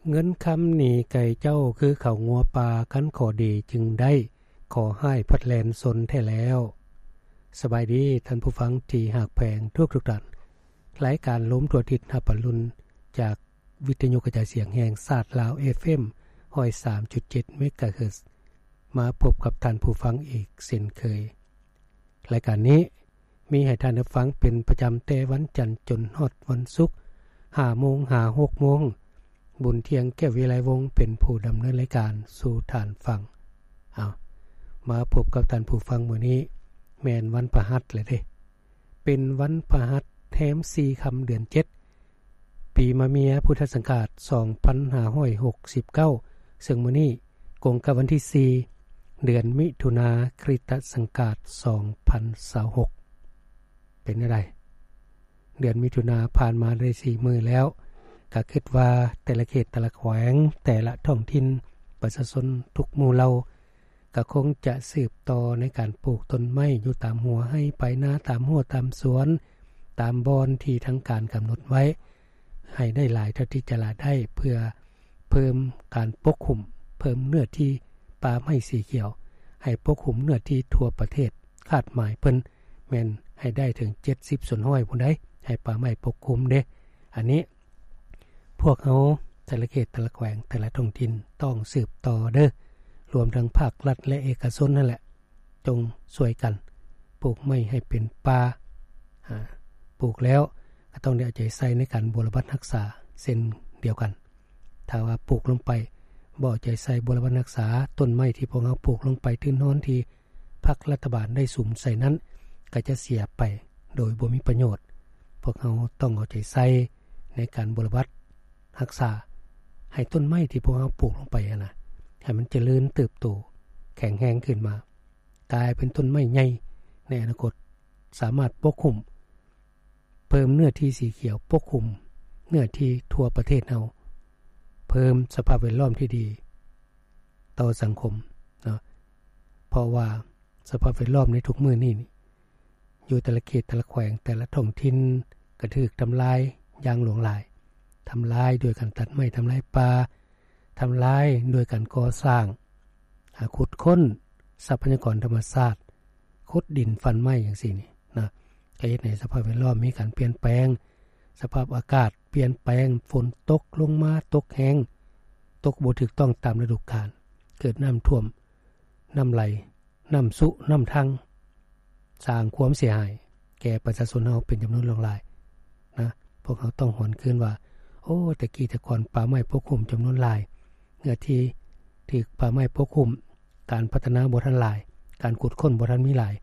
ເງິນຄຳໜີໄກ່ເຈົ້າ ຄືເຂົ້າງົວປ່າ ຄັນຂໍດີຈຶ່ງໄດ້ ຂໍຮ້າຍພັດແລ່ນຊົນແທ້ແລ້ວ. ສະບາຍດີທ່ານຜູ້ຟັງທີ່ຮັກແພງທຸກໆທ່ານ. ລາຍການລົມທົ່ວທິດຮັບປະລຸນ ຈາກວິທະຍຸກະຈາຍສຽງແຫ່ງຊາດລາວ ເອຟເອັມ ຮ້ອຍສາມຈຸດເຈັດ ເມກາເຮີດ ມາພົບກັບທ່ານຜູ້ຟັງອີກເຊັ່ນເຄີຍ. ລາຍການນີ້ມີໃຫ້ທ່ານໄດ້ຟັງເປັນປະຈຳແຕ່ວັນຈັນຈົນຮອດວັນສຸກ ຫ້າໂມງຫາຫົກໂມງ. ບຸນທ່ຽງ ແກ້ວວິໄລວົງ ເປັນຜູ້ດຳເນີນລາຍການສູ່ທ່ານຟັງ. ເອົາ ມາພົບກັບທ່ານຜູ້ຟັງມື້ນີ້ ແມ່ນວັນພະຫັດແລ້ວເດ້. ເປັນວັນພະຫັດແຮມສີ່ຄ່ຳເດືອນເຈັດ ປີມະເມຍ ພຸດທະສັງກາດສອງພັນຫ້າຮ້ອຍຫົກສິບເກົ້າ ເຊິ່ງມື້ນີ້ກົງກັບວັນທີສີ່ ເດືອນມິຖຸນາ ຄຣິສຕະສັງກາດສອງພັນຊາວຫົກ. ເປັນແນວໃດ? ເດືອນມິຖຸນາຜ່ານມາໄດ້ສີ່ມື້ແລ້ວ, ກະຄິດວ່າແຕ່ລະເຂດ ແຕ່ລະແຂວງ ແຕ່ລະທ້ອງຖິ່ນ ປະຊາຊົນທຸກໝູ່ເຫຼົ່າ ກະຄົງຈະສືບຕໍ່ໃນການປູກຕົ້ນໄມ້ຢູ່ຕາມຫົວໄຮ່ປາຍນາ, ຕາມຮົ້ວຕາມສວນ, ຕາມບ່ອນທີ່ທາງການກຳນົດໄວ້ ໃຫ້ໄດ້ຫຼາຍເທົ່າທີ່ຈະຫຼາຍໄດ້ ເພື່ອເພີ່ມການປົກຄຸມ, ເພີ່ມເນື້ອທີ່ປ່າໄມ້ສີຂຽວ, ໃຫ້ປົກຄຸມເນື້ອທີ່ທົ່ວປະເທດ. ຄາດໝາຍເພິ່ນແມ່ນໃຫ້ໄດ້ເຖິງເຈັດສິບສ່ວນຮ້ອຍພຸ້ນໃດ໋ ໃຫ້ປ່າໄມ້ປົກຄຸມເດ້. ອັນນີ້ ພວກເຮົາແຕ່ລະເຂດ ແຕ່ລະແຂວງ ແຕ່ລະທ້ອງຖິ່ນຕ້ອງສືບຕໍ່ເດີ້, ລວມທັງພາກລັດ ແລະ ເອກະຊົນນັ້ນແຫຼະ, ຈົ່ງຊ່ວຍກັນປູກໄມ້ໃຫ້ເປັນປ່າ. ອາ ປູກແລ້ວກໍຕ້ອງໄດ້ເອົາໃຈໃສ່ໃນການບົວລະບັດຮັກສາເຊັ່ນດຽວກັນ. ຖ້າວ່າປູກລົງໄປ ບໍ່ເອົາໃຈໃສ່ບົວລະບັດຮັກສາ, ຕົ້ນໄມ້ທີ່ພວກເຮົາປູກລົງໄປ ທຶນຮອນທີ່ພັກລັດຖະບານໄດ້ສຸມໃສ່ນັ້ນ ກໍຈະເສຍໄປໂດຍບໍ່ມີປະໂຫຍດ. ພວກເຮົາຕ້ອງເອົາໃຈໃສ່ໃນການບົວລະບັດຮັກສາ ໃຫ້ຕົ້ນໄມ້ທີ່ພວກເຮົາປູກລົງໄປຫັ້ນນະ ໃຫ້ມັນຈະເລີນເຕີບໂຕ ແຂງແຮງຂຶ້ນມາ ກາຍເປັນຕົ້ນໄມ້ໃຫຍ່ໃນອະນາຄົດ, ສາມາດປົກຄຸມ ເພີ່ມເນື້ອທີ່ສີຂຽວປົກຄຸມເນື້ອທີ່ທົ່ວປະເທດເຮົາ, ເພີ່ມສະພາບແວດລ້ອມທີ່ດີຕໍ່ສັງຄົມເນາະ. ເພາະວ່າສະພາບແວດລ້ອມໃນທຸກມື້ນີ້ ຢູ່ແຕ່ລະເຂດ ແຕ່ລະແຂວງ ແຕ່ລະທ້ອງຖິ່ນ ກະຖືກທຳລາຍຢ່າງຫຼວງຫຼາຍ, ທຳລາຍໂດຍການຕັດໄມ້ ທຳລາຍປ່າ, ທຳລາຍໂດຍການກໍ່ສ້າງ, ອາ, ຂຸດຄົ້ນຊັບພະຍາກອນທຳມະຊາດ, ຂຸດດິນຟັນໄມ້ຈັ່ງຊີ້ນີ້ນະ, ກະເຮັດໃຫ້ສະພາບແວດລ້ອມມີການປ່ຽນແປງ, ສະພາບອາກາດປ່ຽນແປງ, ຝົນຕົກລົງມາຕົກແຮງ, ຕົກບໍ່ຖືກຕ້ອງຕາມລະດູການ, ເກີດນ້ຳຖ້ວມ, ນ້ຳໄຫຼ, ນ້ຳຊຸ, ນ້ຳທັງ, ສ້າງຄວາມເສຍຫາຍແກ່ປະຊາຊົນເຮົາເປັນຈຳນວນຫຼວງຫຼາຍນະ. ພວກເຮົາຕ້ອງຫວນຄືນວ່າ ໂອ້ ແຕ່ກີ້ແຕ່ກ່ອນປ່າໄມ້ປົກຄຸມຈຳນວນຫຼາຍ, ເນື້ອທີ່ຖືກປ່າໄມ້ປົກຄຸມ, ການພັດທະນາບໍ່ທັນຫຼາຍ, ການຂຸດຄົ້ນບໍ່ທັນມີຫຼາຍ,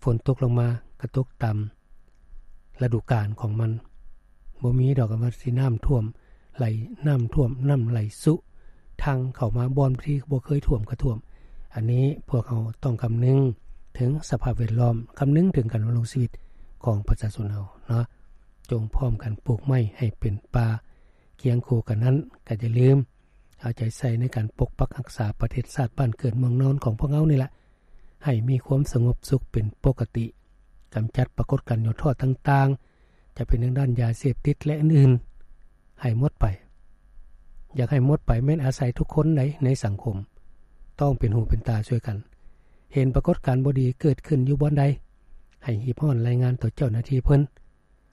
ຝົນຕົກລົງມາກະຕົກຕາມລະດູການຂອງມັນ, ບໍ່ມີດອກວ່າຊິນ້ຳຖ້ວມໄຫຼ, ນ້ຳຖ້ວມ, ນ້ຳໄຫຼຊຸ, ທັງເຂົ້າມາບ່ອນທີ່ບໍ່ເຄີຍຖ້ວມກະຖ້ວມ. ອັນນີ້ພວກເຮົາຕ້ອງຄຳນຶງເຖິງສະພາບແວດລ້ອມ, ຄຳນຶງເຖິງການດຳລົງຊີວິດຂອງປະຊາຊົນເຮົາເນາະ. ຈົ່ງພ້ອມກັນປູກໄມ້ໃຫ້ເປັນປ່າ. ຄຽງຄູ່ກັນນັ້ນ ກໍຢ່າລືມເອົາໃຈໃສ່ໃນການປົກປັກຮັກສາປະເທດຊາດບ້ານເກີດເມືອງນອນຂອງພວກເຮົານີ້ລະ ໃຫ້ມີຄວາມສະຫງົບສຸກເປັນປົກກະຕິ, ກຳຈັດປາກົດການຫຍໍ້ທໍ້ຕ່າງໆ ຈະເປັນທາງດ້ານຢາເສບຕິດ ແລະ ອື່ນໆ ໃຫ້ໝົດໄປ. ຢາກໃຫ້ໝົດໄປແມ່ນອາໄສທຸກຄົນໃດໃນສັງຄົມ ຕ້ອງເປັນຫູເປັນຕາຊ່ວຍກັນ. ເຫັນປາກົດການບໍ່ດີເກີດຂຶ້ນຢູ່ບ່ອນໃດ ໃຫ້ຮີບຮ້ອນລາຍງານຕໍ່ເຈົ້າໜ້າທີ່ເພິ່ນ,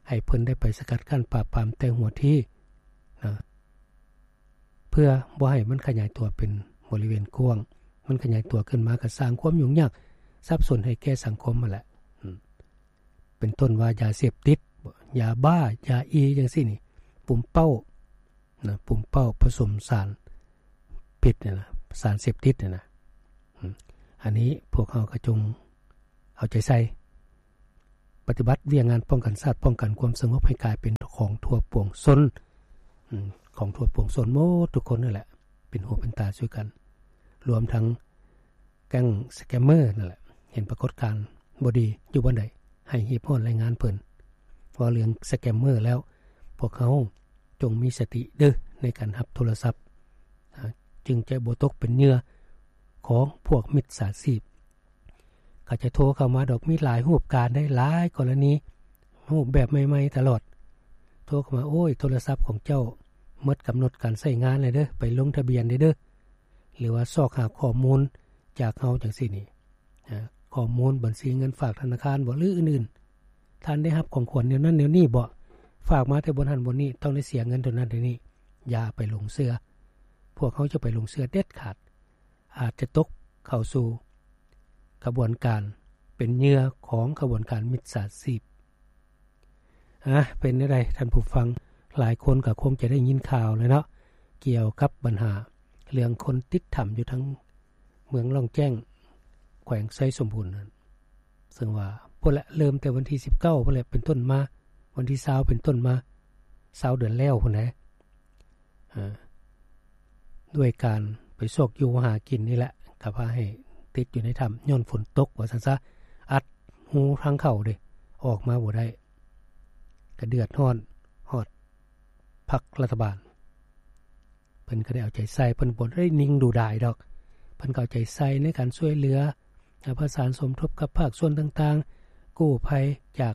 ໃຫ້ເພິ່ນໄດ້ໄປສະກັດກັ້ນປາບປາມແຕ່ຫົວທີນະ, ເພື່ອບໍ່ໃຫ້ມັນຂະຫຍາຍຕົວເປັນບໍລິເວນກວ້າງ. ມັນຂະຫຍາຍຕົວຂຶ້ນມາກໍສ້າງຄວາມຫຍຸ້ງຍາກສັບສົນໃຫ້ແກ່ສັງຄົມຫັ້ນແຫຼະ. ອາ ເປັນຕົ້ນວ່າຢາເສບຕິດ, ຢາບ້າ, ຢາອີ ຈັ່ງຊີ້ນີ້, ປຸມເປົ້ານະ, ປຸມເປົ້າປະສົມສານພິດນີ້ນະ, ສານເສບຕິດນີ້ນະ. ອາ ອັນນີ້ພວກເຮົາກໍຈົ່ງເອົາໃຈໃສ່ ປະຕິບັດວຽກງານປ້ອງກັນຊາດ, ປ້ອງກັນຄວາມສະຫງົບໃຫ້ກາຍເປັນຂອງທົ່ວປວງຊົນ, ອາ ຂອງທົ່ວປວງຊົນໝົດທຸກຄົນນັ້ນແຫຼະ, ເປັນຫູເປັນຕາຊ່ວຍກັນ, ລວມທັງ ແກ້ງສະແກມເມີນັ້ນແຫຼະ, ເຫັນປາກົດການບໍ່ດີຢູ່ບ່ອນໃດ ໃຫ້ຮີບຮ້ອນລາຍງານເພິ່ນ. ເວົ້າເລື່ອງສະແກມເມີແລ້ວ, ພວກເຮົາຈົ່ງມີສະຕິເດີ້ ໃນການຮັບໂທລະສັບ, ອາ ຈຶ່ງຈະບໍ່ຕົກເປັນເຫຍື່ອຂອງພວກມິດສາຊີບ. ເຂົາຈະໂທເຂົ້າມາດອກ, ມີຫຼາຍຮູບການໄດ໋, ຫຼາຍກໍລະນີ, ຮູບແບບໃໝ່ໆຕະຫຼອດ. ໂທເຂົ້າມາ, ໂອ້ຍ ໂທລະສັບຂອງເຈົ້າ ໝົດກຳນົດການໃຊ້ງານແລ້ວເດີ ໄປລົງທະບຽນແລ້ວເດີ ຫຼືວ່າຊອກຫາຂໍ້ມູນຈາກເຮົາຈັ່ງຊີ້ນີ້ ອາ ຂໍ້ມູນບັນຊີເງິນຝາກທະນາຄານບໍ ຫຼືອື່ນໆ ທ່ານໄດ້ຮັບຂອງຂວັນແນວນັ້ນແນວນີ້ບໍ ຝາກມາແຕ່ບ່ອນຫັ້ນບ່ອນນີ້ ຕ້ອງໄດ້ເສຍເງິນເທົ່ານັ້ນເທົ່ານີ້ ຢ່າໄປຫຼົງເຊື່ອ. ພວກເຮົາຈະໄປຫຼົງເຊື່ອເດັດຂາດ ອາດຈະຕົກເຂົ້າສູ່ຂະບວນການ ເປັນເຫຍື່ອຂອງຂະບວນການມິດສາຊີບ. ອາ ເປັນແນວໃດທ່ານຜູ້ຟັງ? ຫຼາຍຄົນກໍຄົງຈະໄດ້ຍິນຂ່າວແລ້ວເນາະ ກ່ຽວກັບບັນຫາເລື່ອງຄົນຕິດຖ້ຳຢູ່ທາງເມືອງລ້ອງແຈ້ງ ແຂວງໄຊສົມບູນນັ້ນ ເຊິ່ງວ່າພຸ້ນແຫຼະ ເລີ່ມແຕ່ວັນທີສິບເກົ້າພຸ້ນແຫຼະ ເປັນຕົ້ນມາ ວັນທີຊາວເປັນຕົ້ນມາ ຊາວເດືອນແລ້ວພຸ້ນແຫຼະ ເອີ ດ້ວຍການໄປຊອກຢູ່ຫາກິນນີ້ແຫຼະ ກໍພາໃຫ້ຕິດຢູ່ໃນຖ້ຳຍ້ອນຝົນຕົກວ່າຊັ້ນຊະ ອັດຮູທາງເຂົ້າເດ້ ອອກມາບໍ່ໄດ້ ກໍເດືອດຮ້ອນຮອດພັກລັດຖະບານ. ເພິ່ນກໍໄດ້ເອົາໃຈໃສ່ ເພິ່ນບໍ່ໄດ້ນິ່ງດູດາຍດອກ ເພິ່ນກໍເອົາໃຈໃສ່ໃນການຊ່ວຍເຫຼືອ ປະສານສົມທົບກັບພາກສ່ວນຕ່າງໆ ກູ້ໄພຈາກ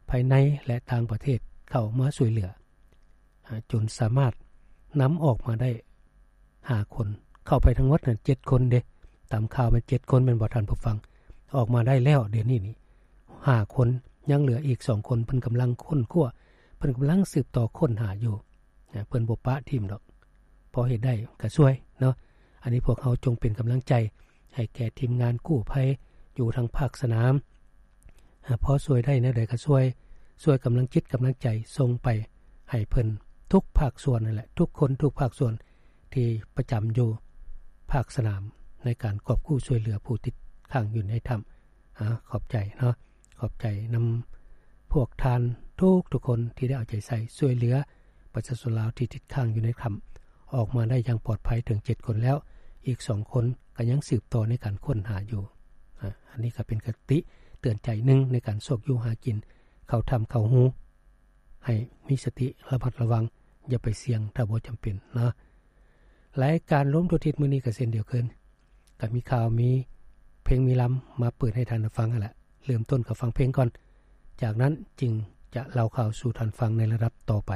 ພາຍໃນ ແລະ ຕ່າງປະເທດເຂົ້າມາຊ່ວຍເຫຼືອ ຈົນສາມາດນຳອອກມາໄດ້ຫ້າຄົນ ເຂົ້າໄປທັງໝົດນັ້ນເຈັດຄົນເດ້ ຕາມຂ່າວແມ່ນເຈັດຄົນແມ່ນບໍ່ທ່ານຜູ້ຟັງ? ອອກມາໄດ້ແລ້ວດຽວນີ້ນີ້ຫ້າຄົນ ຍັງເຫຼືອອີກສອງຄົນ ເພິ່ນກຳລັງຄົ້ນຄວ້າ ເພິ່ນກຳລັງສືບຕໍ່ຄົ້ນຫາຢູ່ ເພິ່ນບໍ່ປະຖິ້ມດອກ ພໍເຮັດໄດ້ກໍຊ່ວຍເນາະ. ອັນນີ້ພວກເຮົາຈົ່ງເປັນກຳລັງໃຈໃຫ້ແກ່ທີມງານກູ້ໄພຢູ່ທາງພາກສະໜາມ ພໍຊ່ວຍໄດ້ແນວໃດກໍຊ່ວຍ ຊ່ວຍກຳລັງຈິດກຳລັງໃຈສົ່ງໄປໃຫ້ເພິ່ນທຸກພາກສ່ວນນັ້ນແຫຼະ ທຸກຄົນທຸກພາກສ່ວນທີ່ປະຈຳຢູ່ພາກສະໜາມ ໃນການກອບກູ້ຊ່ວຍເຫຼືອຜູ້ຕິດຄ້າງຢູ່ໃນຖ້ຳ. ອາ ຂອບໃຈເນາະ ຂອບໃຈນຳພວກທ່ານທຸກໆຄົນທີ່ໄດ້ເອົາໃຈໃສ່ຊ່ວຍເຫຼືອປະຊາຊົນລາວທີ່ຕິດຄ້າງຢູ່ໃນຖ້ຳ ອອກມາໄດ້ຢ່າງປອດໄພເຖິງເຈັດຄົນແລ້ວ ອີກສອງຄົນກໍຍັງສືບຕໍ່ໃນການຄົ້ນຫາຢູ່. ອາ ອັນນີ້ກໍເປັນຄະຕິເຕືອນໃຈໜຶ່ງໃນການຊອກຢູ່ຫາກິນ ເຂົ້າຖ້ຳເຂົ້າຮູ ໃຫ້ມີສະຕິລະມັດລະວັງ ຢ່າໄປສ່ຽງຖ້າບໍ່ຈຳເປັນເນາະ. ລາຍການລວມທົ່ວທິດມື້ນີ້ກໍເຊັ່ນດຽວກັນ ກໍມີຂ່າວ ມີເພງ ມີລຳມາເປີດໃຫ້ທ່ານໄດ້ຟັງຫັ້ນແຫຼະ. ເລີ່ມຕົ້ນກໍຟັງເພງກ່ອນ ຈາກນັ້ນຈຶ່ງຈະເລົ່າຂ່າວສູ່ທ່ານຟັງໃນລະດັບຕໍ່ໄປ.